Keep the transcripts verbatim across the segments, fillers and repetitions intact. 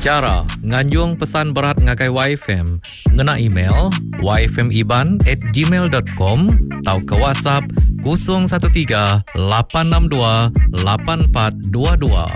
Chara nganjung pesan berat ngagai Y F M ngena email y f m iban at gmail dot com atau ke WhatsApp kosong satu tiga lapan enam dua lapan empat dua dua.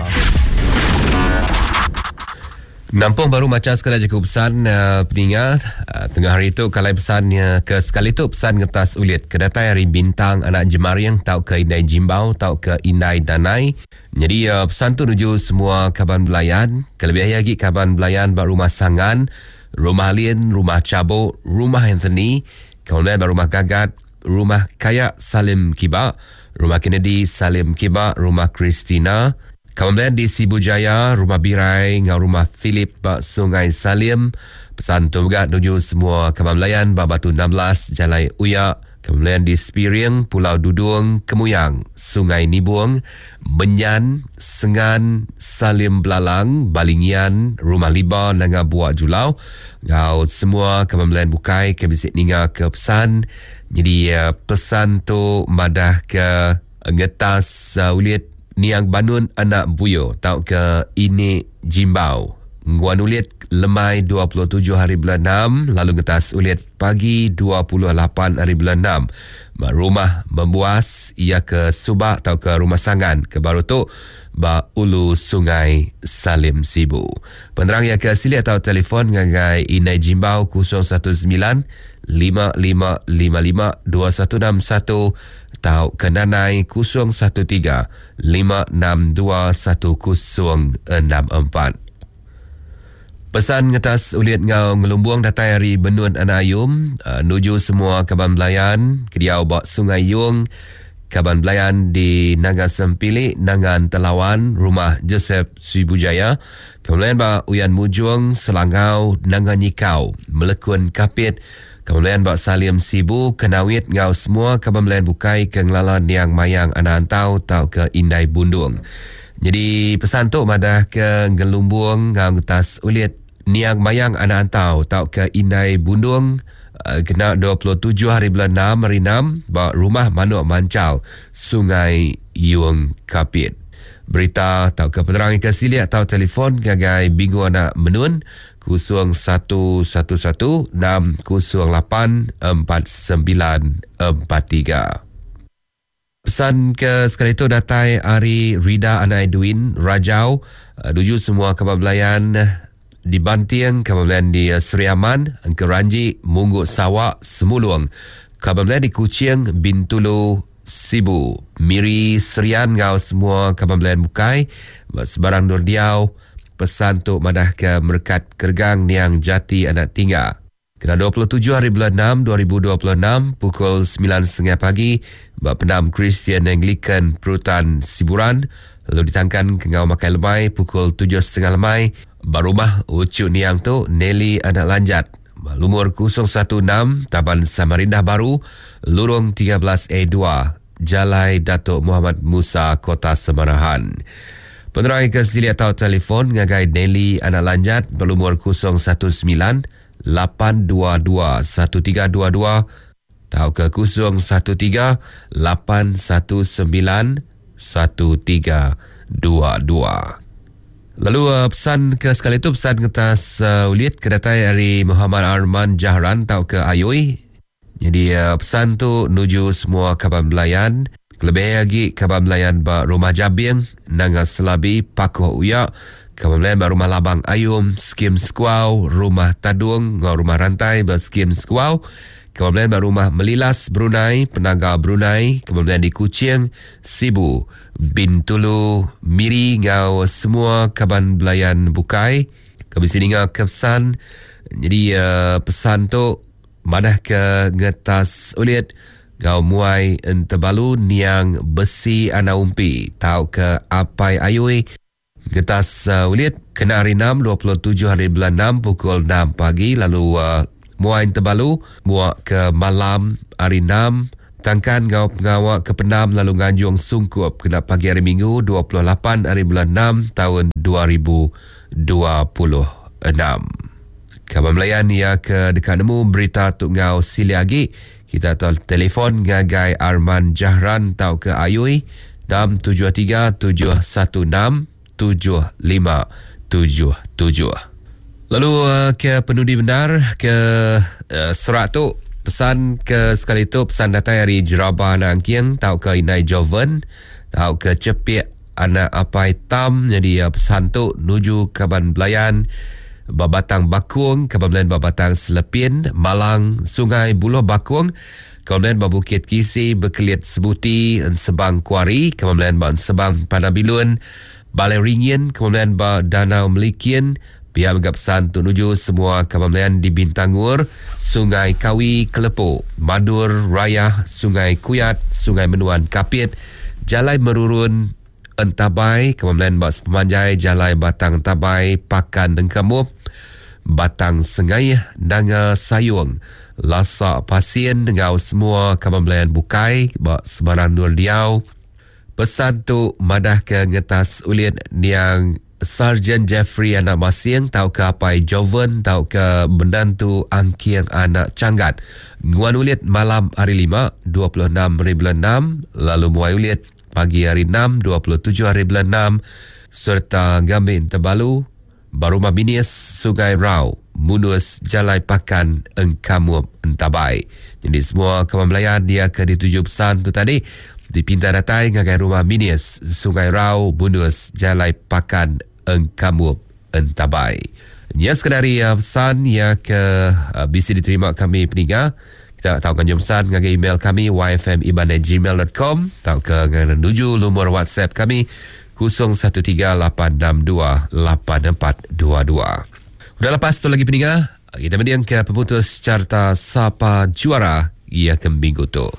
Nampung baru macam sekali cukup pesan uh, peningat uh, tengah hari itu kalau pesannya ke sekali tu pesan ngetas ulit kedatai hari bintang anak jemariang tau ke indai jimbau tau ke indai danai. Jadi uh, pesan tu nuju semua kaban belayan, kelebih lagi kaban belayan bak rumah Sangan, rumah Lin, rumah Cabok, rumah Anthony, kemudian bak rumah Gagat, rumah Kayak Salim Kiba, rumah Kennedy Salim Kiba, rumah Christina. Kemudian di Sibu Jaya, rumah Birai, ngau rumah Philip bak Sungai Salim. Pesan tu juga nuju semua kaban belayan bak Batu enam belas, Jalai Uyak. Kemudian di Spiring, Pulau Dudung, Kemuyang, Sungai Nibung, Menyan, Sengan, Salim Belalang, Balingian, Rumah Liba, Nanga Buak Julau. Ngau semua kaban belayan bukai ke bisik ninga ke pesan. Jadi pesan tu madah ke ngetas uh, ulit Niang Banun Anak Buyo tau ke ini Jimbau. Nguan ulit lemai dua puluh tujuh hari bulan enam, lalu ngetas ulit pagi dua puluh lapan hari bulan enam. Rumah membuas ia ke Subak atau ke Rumah Sangan ke baru tu ba Ulu Sungai Salim Sibu. Penerang ia ke sili atau telefon ngagai Inai Jimbau kosong satu sembilan lima lima lima lima dua satu enam satu atau ke Nanai kosong satu tiga lima enam dua satu kosong enam empat. Pesan ngetas ulit ngau ngelumbung datai hari Benun Anak Ayum, uh, nuju semua kaban belayan kediau bak Sungai Yung, kaban belayan di Nanga Sempilik, Nangan Telawan, rumah Joseph Sibujaya, kemudian bak Uyan Mujung, Selangau, Nanga Nyikau, Melekun Kapit, kemudian bak Salim Sibu, Kenawit ngau semua kaban belayan bukai ke ngelala Niang Mayang Anak Antau tau ke Indai Bundung. Jadi pesan tu madah ke ngelumbung ngau ngetas ulit Niang Mayang Anak Antau tau ke Indai Bundung uh, kena dua puluh tujuh hari bulan enam hari enam ba rumah Manuk Mancal Sungai Yung Kapit. Berita tau ke penerang ke sili atau telefon gagai Bingu Anak Menun kosong satu satu satu enam kosong lapan empat sembilan empat tiga. Pesan ke sekali itu datai Ari Rida Anak Edwin Rajau nuju semua kaban belayan di Bantiang, kaban belayan di Seri Aman, Engkeranji, Mungguk Sawak, Semulung, kaban belayan di Kuching, Bintulu, Sibu, Miri, Serian ngau semua kaban belayan bukai sebarang nur diau. Pesan tu madah ke Merkat Kergang Niang Jati Anak Tingga. Kena dua puluh tujuh hari bulan enam dua ribu dua puluh enam pukul sembilan tiga puluh pagi bak Pendam Kristian Anglican Perutan Siburan, lalu ditangkan ke ngau makai lemai pukul tujuh tiga puluh lemai ba rumah Ucuk Niang tu Nelly Anak Lanjat lumur kosong satu enam Taban Samarindah Baru Lurung tiga belas A dua Jalai Datuk Muhammad Musa Kota Semarahan. Penerai ke sili atau telefon ngagai Nelly Anak Lanjat berlumur kosong satu sembilan lapan dua dua satu tiga dua dua atau ke kosong satu tiga lapan satu sembilan satu tiga dua dua. Lalu uh, pesan ke sekali itu pesan kertas uh, ulit kedatai dari Muhammad Arman Jahran atau ke Ayui. Jadi uh, pesan tu nuju semua kaban belayan, kelebih lagi kaban belayan ba Rumah Jabing, Nanga Selabi, Pakuh Uyak, kaban belayan ba Rumah Labang Ayum, Skim Sekuau, Rumah Tadung, ngau Rumah Rantai ba Skim Sekuau, kaban belayan ba Rumah Melilas Brunei, Penaga Brunei, kaban belayan di Kuching, Sibu, Bintulu, Miri ngau semua kaban belayan bukai. Kami sini ngau ke pesan. Jadi uh, pesan tu madah ke ngetas ulit ngau muai entebalu niang besi anak umpi tau ke apai ayui. Ngetas uh, ulit kena hari enam dua puluh tujuh hari bulan enam pukul enam pagi, lalu uh, muai entebalu muak ke malam hari enam tangkan ngau pengawak ke pendam lalu nganjung sungkup kena pagi hari Minggu dua puluh lapan hari bulan enam tahun dua ribu dua puluh enam. Kaban belayan ia ke dekat nemu berita tu ngau sili agi, kita telefon ngagai Arman Jahran tau ke Ayui enam tujuh tiga tujuh satu enam tujuh lima tujuh tujuh. Lalu uh, ke penudi benar ke uh, serak tu pesan ke sekali tu pesan datai hari Jeraba anak Angking tau ke Inai Joven tau ke Cepik anak Apai Tam. Jadi uh, pesan tu nuju kaban belayan Babatang Bakung, kaban belayan Babatang Selepin, Malang, Sungai Buloh Bakung, kaban belayan Babukit Kisi, Bekelit Sebuti, Sebang Kuari, kaban belayan Ba Sebang Panabilun, Balai Ringin, kaban belayan Ba Danau Melikin. Pihak menganggap pesan untuk menuju semua kaban belayan di Bintangur, Sungai Kawi, Kelepok, Madur, Raya, Sungai Kuyat, Sungai Menuan, Kapit, Jalai Merurun, Entabai, kaban belayan Bak Sepemanjai, Jalai Batang Entabai, Pakan Dengkamup, Batang Sengai, Nanga Sayung, Lasak Pasien dengan semua kaban belayan Bukai, Bak Sebarang Nur Liau. Pesan tu madah ke ngetas ulit niang Sarjan Jeffrey anak Masing tau ke Apai Joven tau ke menantu Angking anak Canggat. Nguan ulit malam hari lima dua puluh enam hari bulan enam, lalu muai ulit pagi hari enam dua puluh tujuh hari bulan enam serta Gamin Tebalu Barumah Binis Sungai Rau Munus Jalai Pakan Engkamup Entabai. Jadi semua kawan belayan dia ke dituju pesan tu tadi dipinta datai ngagai rumah Binis Sungai Rau Munus Jalai Pakan Engkamup Entabai. Ya sekadari uh, pesan ya ke uh, bisa diterima kami peninggal. Kita tahu kan jom pesan ngagai email kami y f m iban at gmail dot com atau ke menuju nomor WhatsApp kami kosong satu tiga lapan enam dua lapan empat dua dua. Udah lepas tu lagi peninggal, kita mendiang ke pemutus carta Sapa Juara ia ke minggu tu.